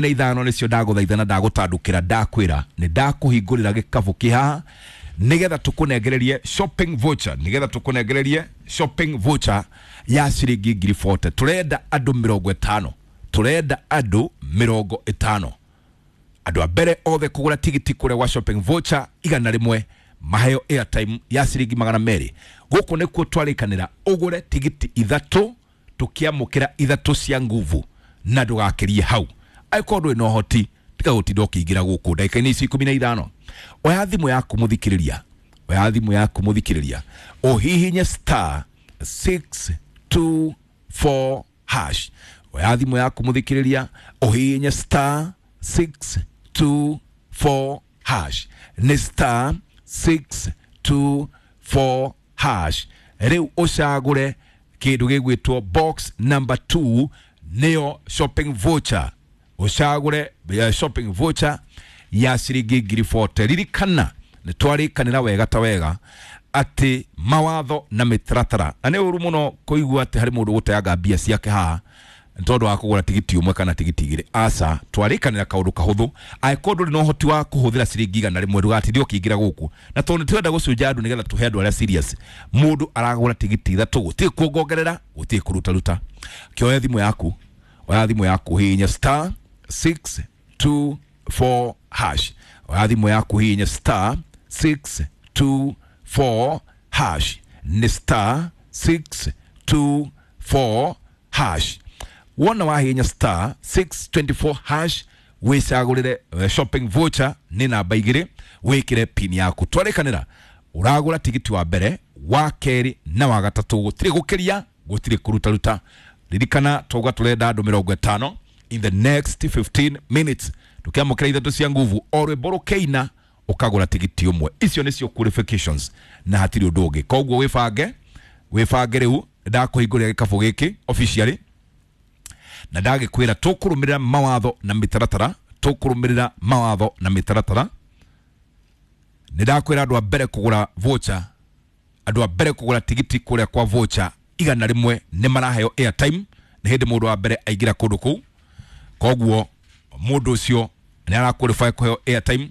15 nĩcio ndagũthaitha na ndagũtandũkĩra, ndakwĩra nĩ ndakũhingũrĩra gĩkabũ kĩ haha nĩgetha tũkũnengererie shopping voucher, nĩgetha tũkũnengererie shopping voucher ya ciringi 40,000. Tũrenda andũ 50, tũrenda andũ 50. Andũ a mbere othe kũgũra tigiti kũrĩa gwa shopping voucher 100 maheo airtime ya ciringi 200. Gũkũ nĩkuo twarĩkanĩra ũgũre tigiti 3, tũkĩamũkĩra 3 cia nguvu na ndũgakĩrie hau. Angĩkorwo ndũrĩ na ũhoti, tiga gũtinda ũkĩingĩra gũkũ ndagĩka-inĩ ici 15. Oya thimũ yaku mũthikĩrĩria, oya thimũ yaku mũthikĩrĩria, ũhihinye star 624 hash. Oya thimũ yaku mũthikĩrĩria, ũhihinye star 624 hash. Nĩ star 624 hash. Rĩu ũcagũre kĩndũ gĩgwĩtwo box number 2, nĩyo shopping voucher. Ũcagũre shopping voucher ya ciringi 40,000. Ririkana nĩ twarĩkanĩra wega ta wega atĩ mawatho na mĩtaratara, na nĩ ũru mũno kũigua atĩ harĩ mũndũ gũteanga mbia ciake haha nĩ tondũ wa kũgũra tigiti ũmwe kana tigiti 2. Aca, twarĩkanĩra kaũndũ kahũthũ. Angĩkorwo ndũrĩ na ũhoti wa kũhũthĩra ciringi 100, ndũgatinde ũkĩingĩra gũkũ, na tondũ nĩ tũrenda gũcunja andũ nĩgetha tũhe andũ arĩa serious. Mũndũ aragũra tigiti 3, gũtirĩ kuongongerera, gũtirĩ kũrutaruta. Kĩoya thimũ yaku, oya thimũ yaku, hihinya star 624 hash. Oya thimũ yaku, hihinya star 624 hash. Nĩ star 624 hash. Wona wahihinya star 624 hash, wĩcagũrĩre shopping voucher nĩ namba 2, wĩkĩre pin yaku. Twarĩkanĩra ũragũra tigiti wa mbere, wa kerĩ na wa gatatũ, gũtirĩ gũkĩria, gũtirĩ kũrutaruta. Ririkana twauga tũrenda andũ 50 in the next 15 minutes, tũkĩamũkĩra 3 cia nguvu, o rwĩmbo rũkĩina ũkagũra tigiti ũmwe. Icio nĩcio qualifications na hatirĩ ũndũ ũngĩ. Koguo wĩbange, wĩbange rĩu ndakũhingũrĩra gĩkabũ gĩkĩ officially, na ndagĩkwĩra tũkũrũmĩrĩra mawatho na mĩtaratara, tũkũrũmĩrĩra mawatho na mĩtaratara. Nĩ ndakwĩra andũ a mbere kũgũra voucher, andũ a mbere kũgũra tigiti kũrĩa kwa voucher 100 nĩ maraheo airtime. Nĩ hĩndĩ mũndũ wa mbere aingĩra kũndũ kũu, koguo mũndũ ũcio nĩ ara qualify kũheo airtime.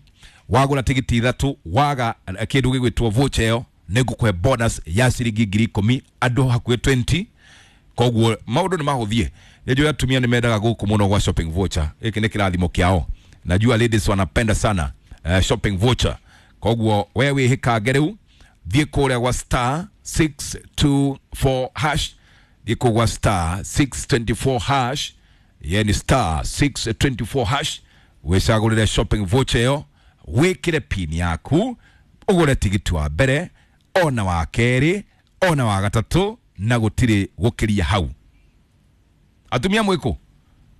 Wagũra tigiti 3, waga kĩndũ gĩgwĩtwo voucher ĩyo, nĩ ngũkũhe bonus ya ciringi 10,000, andũ hakuhĩ 20. Koguo maũndũ nĩ mahũthie. Nĩnjũĩ atumia nĩ mendaga gũkũ mũno gwa shopping voucher. Gĩkĩ nĩ kĩrathimo kĩao. Najua ladies wanapenda sana shopping voucher. Koguo we wĩhĩkange rĩu, thiĩ kũrĩa gwa star 624 hash, thiĩ kũu gwa star 624 hash, ye ni star 624 hash, wĩcagũrĩre shopping voucher ĩyo, wĩkĩre pin yaku, ũgũre tigiti wa mbere ona wa kerĩ ona wa gatatũ, na gũtirĩ gũkĩria hau. Atumia mwĩkũ,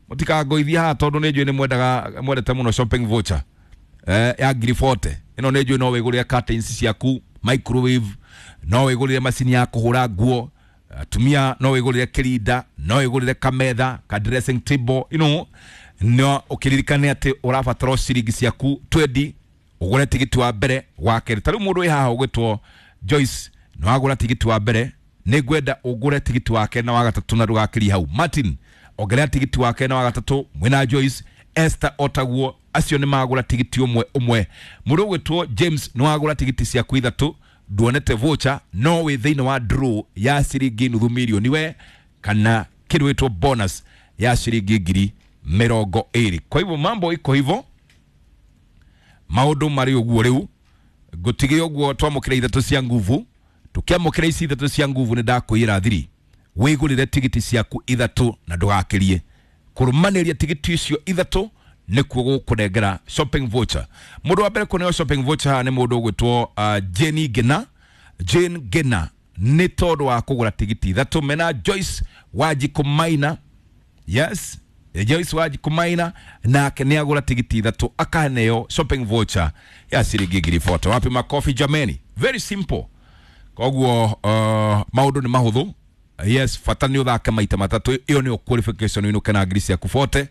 mũtikangoithie haha tondũ nĩ njũĩ nĩ mwendaga, mwendete mũno shopping voucher ya 40,000. Ĩno nĩ njũĩ no wĩgũrĩre curtains ciaku, microwave, no wĩgũrĩre macini ya kũhũra nguo. Atumia no wĩgũrĩre kĩrinda, no wĩgũrĩre kametha, ka dressing table, you know, no ũkĩririkane atĩ ũrabatara ciringi ciaku 20 ũgũre tigiti wa mbere, wa kerĩ. Ta rĩu mũndũ wĩ haha ũgwĩtwo Joyce, nĩ wagũra tigiti wa mbere, nĩ ngwenda ũgũre tigiti wa kerĩ na wa gatatũ na ndũgakĩrie hau. Martin, ongerera tigiti wa kerĩ na wa gatatũ mwĩna Joyce. Esther otaguo, acio nĩ magũra tigiti ũmwe ũmwe. Mũndũ ũgwĩtwo James, nĩ wagũra tigiti ciaku 3, nduonete voucher, no wĩ thĩinĩ wa draw ya ciringi 500,000 we, kana kĩndũ gĩtwo bonus ya ciringi 20,000. Kwa hivyo mambo iko hivyo, maũndũ marĩ ũguo rĩu. Ngũtige ũguo twamũkĩra 3 cia nguvu. Tũkĩamũkĩra ici 3 cia nguvu, nĩ ndakwĩra thiri wĩgũrĩre tigiti ciaku 3 na ndũgakĩrie. Kũrũmanĩria tigiti icio 3 nĩkuo gũkũnengera shopping voucher. Mũndũ wa mbere kũneo shopping voucher haha nĩ mũndũ ũgwĩtwo Jane Gena. Jane Gena nĩ tondũ wa kũgũra tigiti 3 mena Joyce Wanjikũ Maina. Yes, Joyce Wanjikũ Maina nake nĩ agũra tigiti 3 akaneo shopping voucher ya ciringi 40,000. Wapi makofi jameni? Very simple. Koguo maũndũ nĩ mahũthũ. Yes, bata nĩ ũthake maita 3, ĩyo nĩyo qualification ĩno kana ngiri ciaku 40.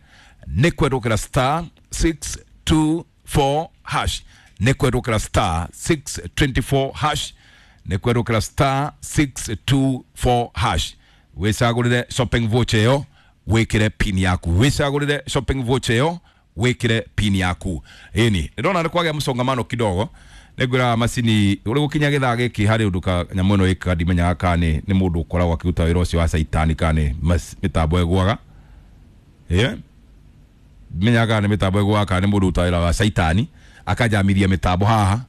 Nĩ kwendũkĩra star 624 hash, nĩ kwendũkĩra star 624 hash, nĩ kwendũkĩra star 624 hash, wĩcagũrĩre shopping voucher ĩyo. wikire pin yaku wicagurire shopping voucher yo wikire pin yaku. Ĩni ndona nĩ kwagĩa mũsongamano kidogo, nĩngwĩra macini ũrĩ gũkinya gĩthaa gĩkĩ harĩ ũndũ ka nyamũ ĩno ĩkaga ndimenyaga kana nĩ mũndũ ũkoragwo akĩruta wĩra ũcio wa caitani kana nĩ mĩtambo ĩgũaga. Ĩĩ menyaga kana nĩ mĩtambo ĩgũaga kana nĩ mũndũ ũrutaga wĩra wa caitani akajamithia mĩtambo haha,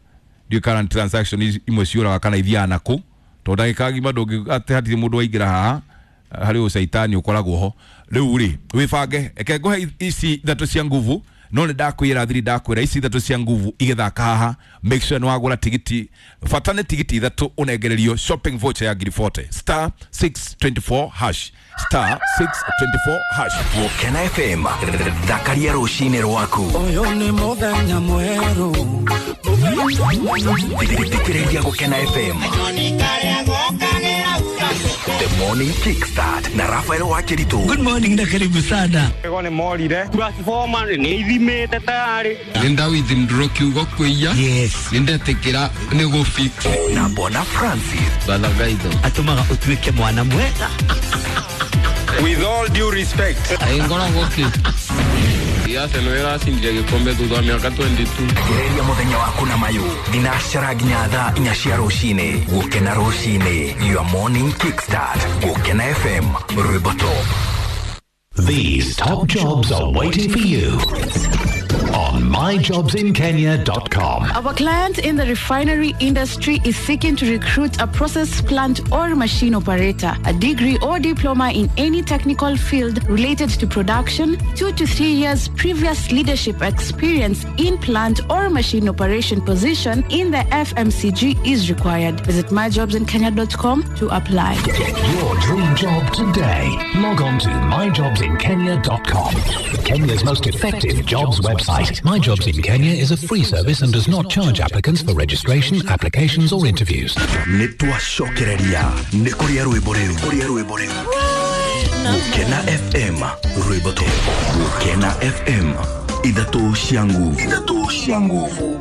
ndiũĩ kana nĩ transaction imwe ciũraga kana ithiaga nakũ, tondũ ndagĩka ng'ima ndũngĩ atĩ hatirĩ mũndũ waingĩra haha harĩ ũcaitani ũkoragwo ho. Rĩu rĩ wĩbange, reke ngũhe ici ithatũ cia nguvu, no nĩ ndakwĩra thiri ndakwĩra ici ithatũ cia nguvu igĩthaka haha, make sure nĩ wagũra tigiti, bata nĩ tigiti ithatũ ũnengererio shopping voucher ya ngiri 40 star 624 hash star 624 hash. Gũkena FM, thakaria rũcinĩ rwaku. Ũyũ nĩ mũthenya mwerũ. Thikĩrĩria Gũkena FM. The Morning Kickstart na Rafael Wakiritu. Good morning na karibu sana. Ego nĩ morire transformer nĩ ithimĩte tayari. Nĩ withdraw kiugo kwĩya. Yes. Nĩ ndetĩkĩra nĩ gũ fix. Na Bona Francis. Balagaitho. Atũmaga ũtuĩke mwana mwega. With all due respect. Ngoragwo kĩ? Arsenal ĩracindire gĩkombe thutha wa mĩaka 22. Gereria mũthenya waku na mayũ thinacara nginya thaa inya cia rũcinĩ. Gũkena rũcinĩ, your morning kickstart. Gũkena FM, rwĩmbo top. These top jobs are waiting for you on myjobsinkenya.com. Our client in the refinery industry is seeking to recruit a process plant or machine operator, a degree or diploma in any technical field related to production, 2 to 3 years previous leadership experience in plant or machine operation position in the FMCG is required. Visit myjobsinkenya.com to apply. Get your dream job today. Log on to myjobsinkenya.com. Kenya's most effective jobs website. My Jobs in Kenya is a free service and does not charge applicants for registration, applications or interviews. Nĩ twacokereria nĩ kũrĩa rwĩmbo rĩu kũrĩa rwĩmbo rĩu. Gũkena FM, rwĩmbo top. Gũkena FM, ithatũ cia nguvu, ithatũ cia nguvu.